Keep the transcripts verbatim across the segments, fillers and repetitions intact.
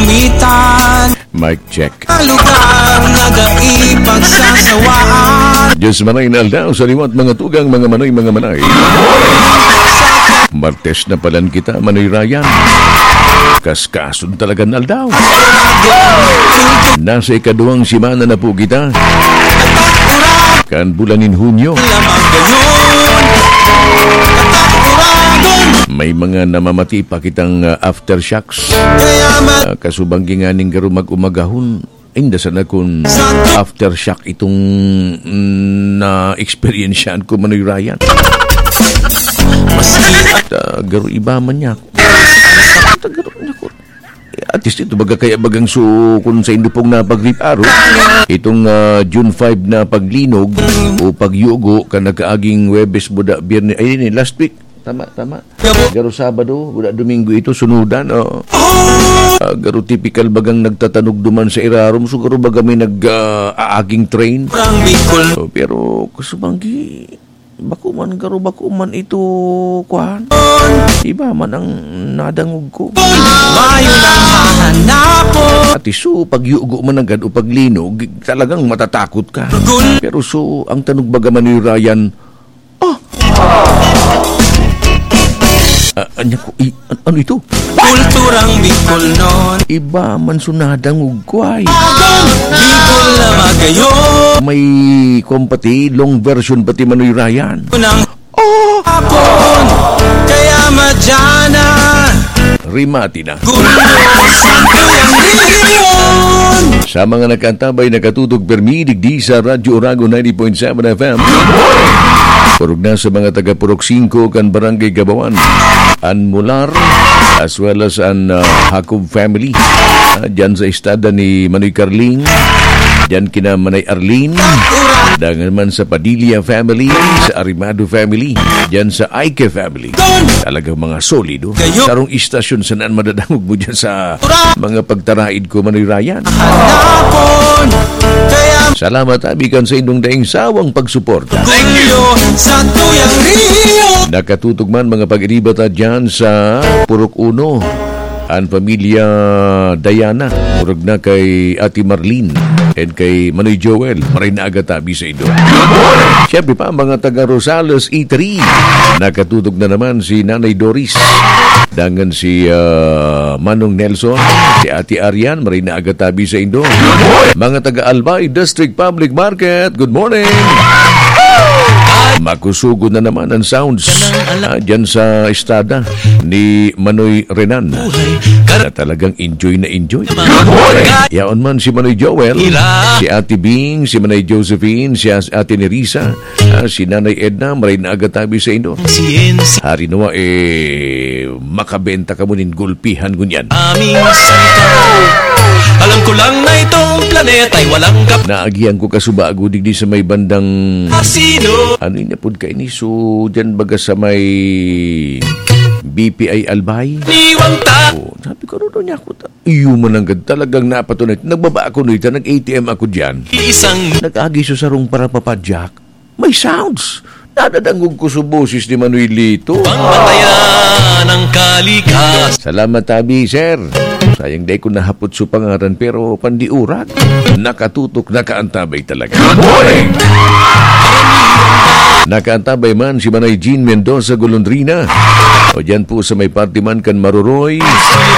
Mitan. Mic check. Lugar na dai pagsasawaan. Diyos manay na aldaw sa liwat, mga tugang, mga manay, mga manay. Martes na palan kita, Manoy Ryan. Kaskason talaga na aldaw. Nasa ikaduwang semana na po kita. Kan bulan nin Hunyo. May mga namamati pa kitang, ah, aftershocks. Ah, kasubang ginganing garo mag-umagahon. Inda sana kun aftershock itong, mm, na-experiensyahan ko, Manoy Ryan. At, ah, garo iba man niya ako. At, ah, garo niya ako. At least ito, baga kaya bagang su-, kun sa indo pong napag-rip araw, itong, ah, June five na paglinog o pagyugo, kan nagkaaging Huwebes, buda, Biyernes, ay, ini, last week. Tama, tama. Garo Sabado, buda, Domingo ito, sunudan, oo. Ah, garo tipikal bagang nagtatanog duman sa irarom, so garo baga may nag, ah, aaging train. Parang Bicol. Oh, pero, kasubanggi, bako man, garo, bako man ito, kuwan. Iba man ang nadangog ko. Mayo lang mahanapon. At iso, pagyugo man agad o paglinog, talagang matatakot ka. Pero so, ang tanog baga, Manoy Ryan, ah! Ah, anya ko, i-, an-, ano ito? Kulturang Bicol nun. Iba man so nadangog ko ay. Agon, Bicol na magayon. May kuwan pati, long version pati, Manoy Ryan. Unang Oh! Hapon, kaya madyana. Rimati na. Gulo, santo yang rehiyon. Sa mga nakaantabay, nakatutok permi digdi sa Radyo Oragon ninety point seven F M. Purog na sa mga taga Purok singko kan Barangay Gabawan, an Mular, as well as an, ah, Jacob family. Ah, dyan sa estada ni Manoy Carling, dyan kina Manay Arlene, dangan man sa Padilla family, sa Arimado family, dyan sa Aike family. Talagang mga solido. Sarong istasyon sanaan madadangog mo dyan sa mga pagtaraid ko, Manoy Ryan. Hanapon, kaya Salamat, abi, kan sa indong daing sawang pagsuporta. Gulyo sa tuyang Rio. Nakatutok man, mga pag-iriba ta dyan sa Purok Uno, an pamilya Diana, murag na kay Ate Marlene, and kay Manoy Joel, maray na aga tabi sa indo. Siyempre pa, mga taga Rosales E three, nakatutok na naman si Nanay Doris, dangan si, ah, Manong Nelson, si Ate Arian, maray na aga tabi sa indo. Mga taga Albay District Public Market, good morning! Makusugon na naman ang sounds, ah, dyan sa estada ni Manoy Renan, na talagang enjoy na enjoy. Yaon man si Manoy Joel, si Ate Bing, si Manay Josephine, si As-, Ate Nerissa, ah, si Nanay Edna, maray na aga tabi sa indo. Hari nawa, eh, makabenta kamo nin gulpihan ngunyan. Aming salita. Alam ko lang na itong planeta'y walang kap- Naagihan ko kasubago digdi sa may bandang Asino. Ano yun, apod kaini? So, dyan baga sa may B P I Albay? Niwang ta- Oh, sabi ko, ano daw niya ako ta-, iyo man ang gad-, talagang napatunay. Nagbaba ako nuita, nag-A T M ako dyan. Isang Nag-agi sa sarong parapapadyak. May sounds. Nadadangog ko sa boses ni Manoy Lito. Pangmatayan ng kalikas. Salamat, tabi, sir. Sayang, dai ko nahapot sa pangaran, pero pandiurak. Nakatutok, nakaantabay talaga. Good morning! Nakaantabay man si Manay Jean Mendoza Golondrina. O dyan po sa may party man kan Maroroy.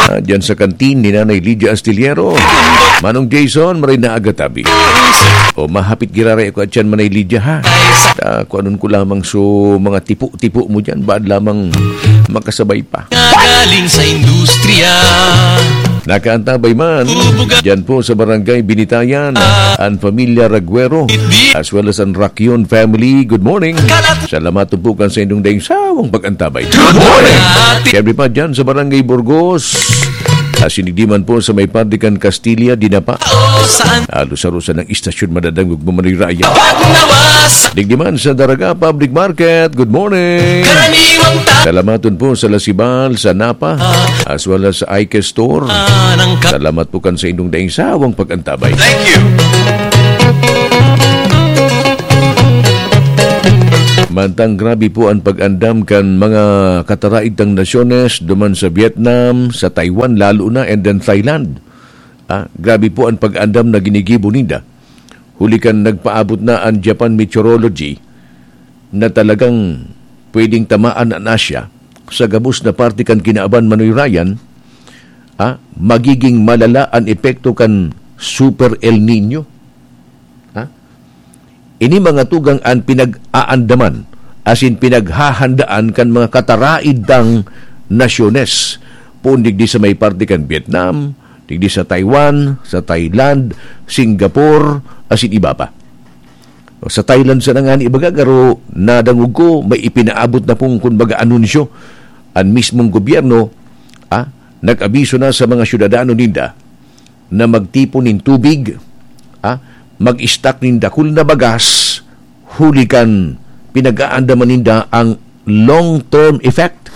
Ah, dyan sa kantin ni Nanay Lydia Astillero. Manong Jason, maray na aga tabi. O, mahapit giraray ako at yan, Manay Lydia, ha? Ah, kuanon ko lamang so mga tipo-tipo mo dyan, baad lamang makasabay pa. Galing sa industriya. Nakaantabay man, Bubuga. Dyan po sa Barangay Binitayan, ang pamilya Raguero, as well as ang Rakion family. Good morning. Kalat. Salamat po kan sa inyong daing sawang pag-antabay. Good morning. Siyempre pa dyan sa Barangay Burgos. Asinigdi man po sa may Pardican, Castilla, Dinapa. Saan? Halos-halos ang istasyon madadangog mo, Manoy Raya. Pagnawas. Digdi man sa Daraga Public Market. Good morning. Karaniwang ta- Salamaton po sa Lasibal, sa Napa, as well as sa Ike Store. Salamat po kan sa inyong daing sawang pag-antabay. Thank you. Mantang grabe po ang pag-andam kan mga kataraid tang nasyones, duman sa Vietnam, sa Taiwan, lalo na, and then Thailand. Ah, grabe po an pag-andam na ginigibo ninda. Huli kan nagpaabot na an Japan Meteorology na talagang pwedeng tamaan an Asia sa gabos na parte kan kinaban, Manoy Ryan, ah, magiging malala an epekto kan Super El Nino. Ha? Ini mga tugang an pinag-aandaman, asin pinaghahandaan kan mga kataraid tang nasyones, poon digdi sa may parte kan Vietnam, digdi sa Taiwan, sa Thailand, Singapore, asin iba pa. Sa Thailand sana ngani, ibaga, garo nadangog ko, may ipinaabot na pong, kumbaga, anunsyo an mismong gobyerno, ah, nag-abiso na sa mga syudadano ninda na magtipon nin tubig, ah, mag-stock nin dakul na bagas, huli kan pinag-aandaman ninda ang long-term effect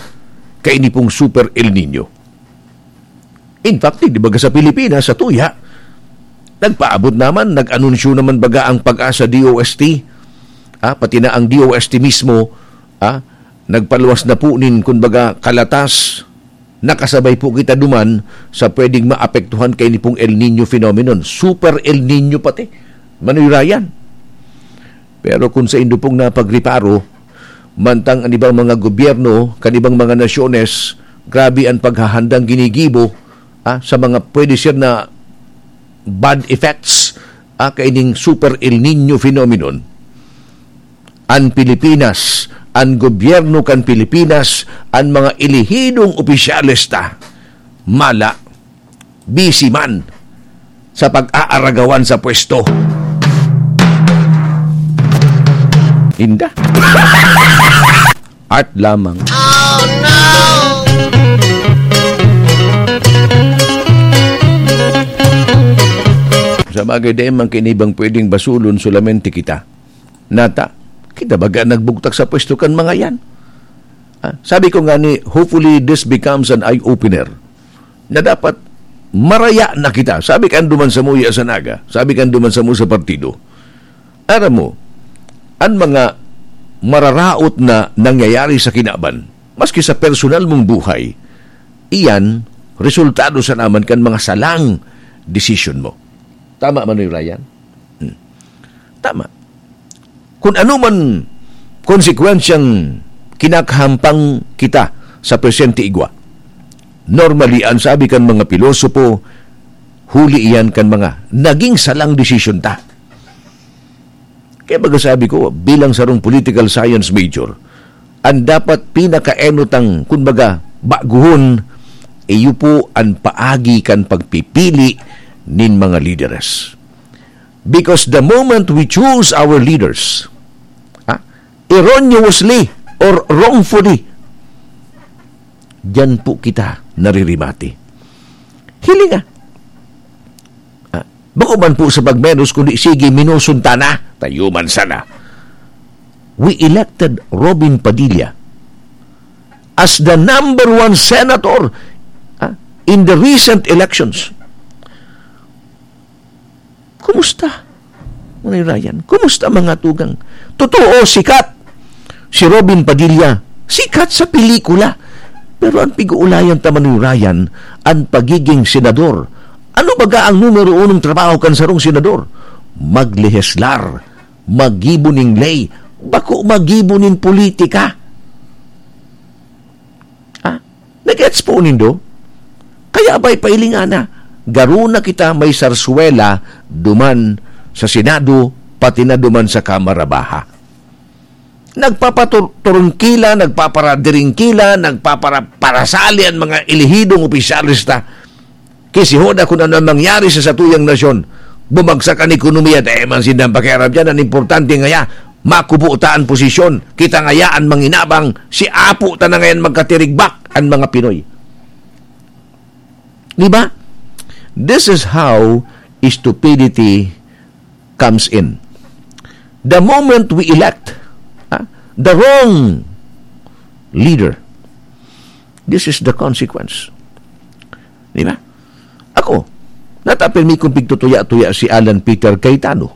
kaini pong Super El Nino. In fact, di ba, sa Pilipinas, sa tuya, nagpaabot naman, nag-anunsyo naman baga ang PAGASA D O S T, ah, pati na ang D O S T mismo, ah, nagpaluwas na po nin, kumbaga, kalatas, nakasabay po kita duman sa pwedeng maapektuhan kaini pong El Nino phenomenon. Super El Nino pati, Manoy Ryan. Pero kung saindo pong napagreparo, mantang an ibang mga gobyerno, kan ibang mga nasyones, grabe an paghahandang ginigibo, ah, sa mga pwede siya na bad effects, ah, kaining Super El Nino phenomenon. An Pilipinas, an gobyerno kan Pilipinas, an mga elehidong opisyales ta, mala, busy man sa pag-aaragawan sa pwesto. Inda. Art lamang. Sa bagay, dai man kinibang pwedeng basulon solamente kita. Nata, kita baga nagbugtak sa pwesto kan mga yan? Ah, sabi ko nga ni, hopefully this becomes an eye-opener na dapat maraya na kita. Sabi kan duman sa muya sa Naga, sabi kan duman sa mo sa partido, aram mo, an mga mararaot na nangyayari sa kinaban, maski sa personal mong buhay, iyan resultado sa naman kan mga salang desisyon mo. Tama, Manoy Ryan? Hmm. Tama. Kung ano man konsekwensyang kinakahampang kita sa presente igwa, normally, an sabi kan mga pilosopo, huli iyan kan mga naging salang desisyon ta. Kaya baga sabi ko, bilang sarong political science major, an dapat pinakaenot ang, kumbaga, baguhon, iyo po an paagi kan pagpipili nin mga lideres. Because the moment we choose our leaders, ha, erroneously or wrongfully, diyan po kita naririmati. Hilinga. Ah, bako man po sa pagmenos, kundi sige, menoson ta na. Tayo man sana. We elected Robin Padilla as the number one senator, ah, in the recent elections. Kumusta, Manoy Ryan? Kumusta, mga tugang? Totoo, sikat si Robin Padilla. Sikat sa pelikula. Pero an pig-uulayan ta, Manoy Ryan, an pagiging senador. Ano baga ang numero unong trabaho kan sarong senador? Magleheslar, maggibo ning ley, bako maggibo nin politika. Ah, nagets po nindo? Kaya ba'y pailingana, garo na kita may sarswela duman sa Senado, pati na duman sa Kamara Baha. Nagpapaturungkila, nagpaparadiringkila, nagpaparaparasali an mga elehidong opisyales ta. Ki si Hoda, kun ano an mangyari sa satuyang nasyon, bumagsak an ekonomiya, dai man sindang pakiaram diyan. An importante ngaya, makubo ta an posisyon. Kita ngaya an manginabang, si Apo ta na ngayan magkatirigbak an mga Pinoy. Di ba? This is how stupidity comes in. The moment we elect, ah, the wrong leader, this is the consequence. Di ba? Ako, natapil mi kung pigtutuya-tuya si Alan Peter Cayetano.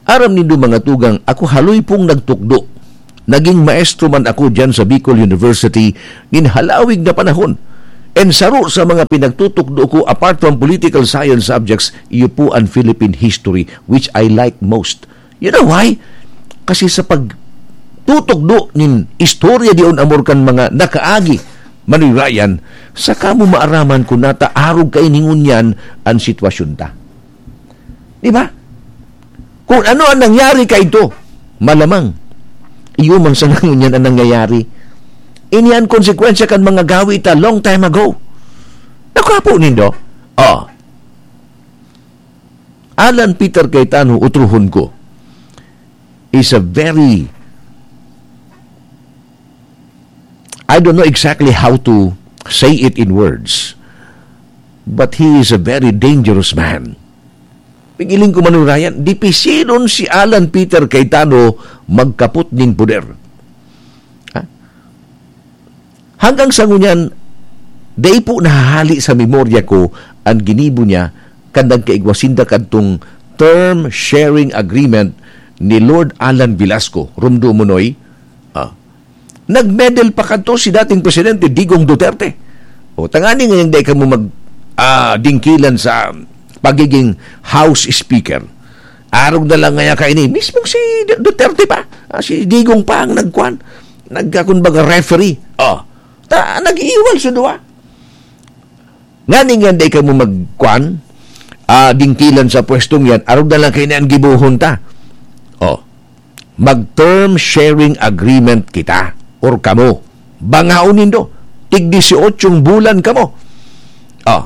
Aram nindo, mga tugang, ako haloy pong nagtukdo. Naging maestro man ako diyan sa Bicol University nin halawig na panahon. And saro sa mga pinagtutukdo ko, apart from political science subjects, iyo po ang Philippine history, which I like most. You know why? Kasi sa pagtutukdo nin istorya diyon, amor kan mga nakaagi, Manoy Ryan, saka mo maaraman kun nata arog kaini ngunyan an sitwasyon ta. Di ba? Kung ano ang nangyari kaidto, malamang iyo man sana ngunyan ang nangyayari. Ini an konsekwensya kan mga gawi ta long time ago. Nakuha po nindo? Oh. Alan Peter Cayetano, utrohon ko, is a very, I don't know exactly how to say it in words, but he is a very dangerous man. Pigiling ko, Manoy Ryan, dipisilon si Alan Peter Cayetano magkapot nin poder. Ha? Hanggang sa ngunyan, dai po nahahali sa memorya ko an ginibo niya kan nagkaigwa sinda kadtong term sharing agreement ni Lord Alan Velasco. Rumdo mo, Noy? Ah. Nag-meddle pa kadto si dating Presidente Digong Duterte. O, tangani ngayang dai kamo mag, ah, dingkilan sa pagiging House Speaker. Arog na lang ngaya kaini. Mismong si D-, Duterte pa, ah, si Digong pa ang nagkuan. Nagka-, kumbaga, referee. Oh, ta-, nag-iiwal sa duwa. Ngani nga dai kamo magkuan, ah, dingkilan sa pwestong yan, arog na lang kaini an gibohon ta. Oh, mag-term sharing agreement kita or kamo. Bangaon nindo, tig-disyotsyong bulan kamo. Oh,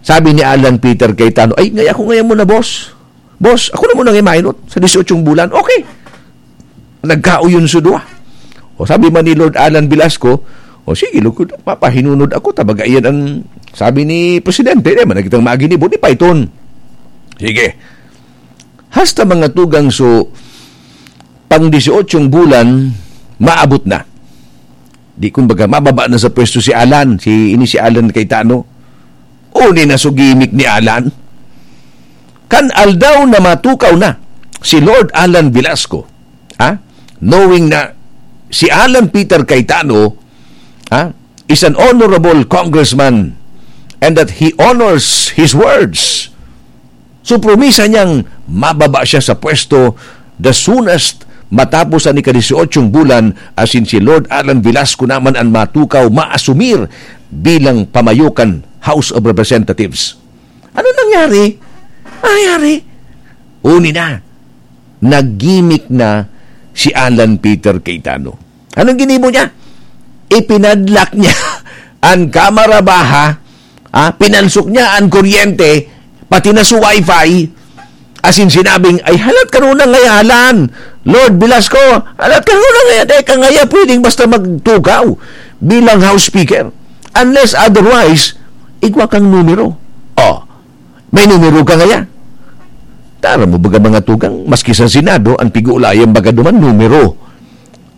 sabi ni Alan Peter Cayetano, "Ay, ngaya ko ngayon muna, boss." Boss, ako na muna ang imainot sa disyotsyong bulan. Okay. Nagkauyon sa duwa. O sabi man ni Lord Alan Velasco, "O sige, lugod, mapahinunod ako, ta baga iyan ang sabi ni Presidente, di man na kitang maginibo, di pa iton." Sige. Hasta mga tugang so, pang disyotsyong bulan, maabot na. Di kumbaga, mababa na sa pwesto si Alan, si, ini si Alan Cayetano. Uni na so gimik ni Alan. Kan aldaw na matukaw na si Lord Alan Velasco, ha? Knowing na si Alan Peter Cayetano, ha, is an honorable congressman and that he honors his words. So, promisa niyang mababa siya sa pwesto the soonest matapos an ika-disyotsyong bulan, asin si Lord Alan Velasco naman an matukaw maasumir bilang pamayo kan House of Representatives. Ano nangyari? Nangyari? Uni na, naggimik na si Alan Peter Cayetano. Anong ginibo niya? Ipinadlak niya an Kamara Baha, ah, pinansok niya an kuryente, pati na sa wifi, asin sinabing, "Ay, halat ka nuna ngayalan, Lord Velasco, halat ka nuna ngaya, di ka ngaya pwedeng basta magtukaw bilang House Speaker. Unless otherwise, igwa kang numero." Oh, may numero ka ngaya. Tara mo baga mga tugang, maski sa Senado, ang pig-uulayan baga duman, numero.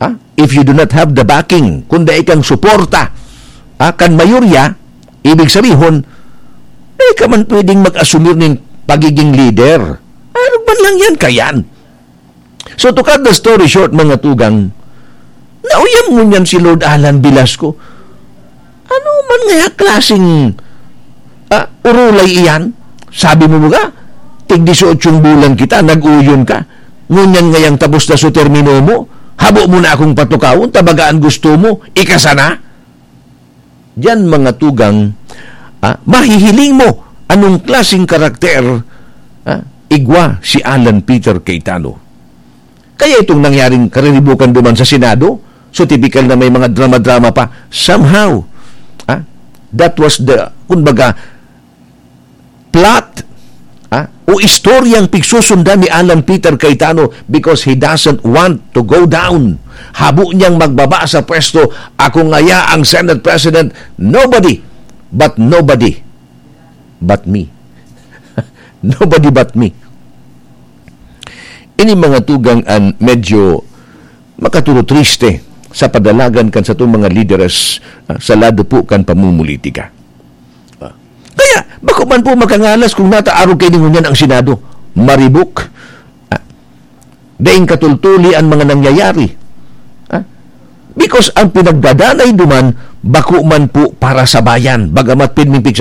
Ha? If you do not have the backing, kung dai kang suporta, ha, kan mayorya, ibig sabihon, dai ka man pwedeng mag-asumir nin pagiging leader. Ano ba lang yan kayan? So, to cut the story short, mga tugang, nauyam ngunyan si Lord Alan Velasco. Ano man ngaya klaseng, ah, urulay iyan? Sabi mo mga, tig-disyotsyong bulan kita, nag-uyon ka. Ngunyan ngayang tapos na so termino mo, habo mo na akong patukawon, ta baga an gusto mo, ika sana? Diyan, mga tugang, ah, mahihiling mo anong klaseng karakter, ah, igwa si Alan Peter Cayetano. Kaya itong nangyaring kariribukan duman sa Senado, so, tipikal na may mga drama-drama pa. Somehow, ah, that was the, kumbaga, plot, ah, o istoryang pigsusundan ni Alan Peter Cayetano because he doesn't want to go down. Habo niyang magbaba sa pwesto, "Ako ngaya ang Senate President." Nobody, but nobody, but me. Nobody but me. Ini mga tugang an medyo makaturo triste sa padalagan kan satong mga lideres, ah, sa lado po kan pamumulitika. Ah, kaya, bako man po makangalas kung nataarog kay ningunyan ang Senado. Maribok. Ah, daing katultuli ang mga nangyayari. Ah, because ang pinagdadanay duman, bako man po para sa bayan. Bagamat pirming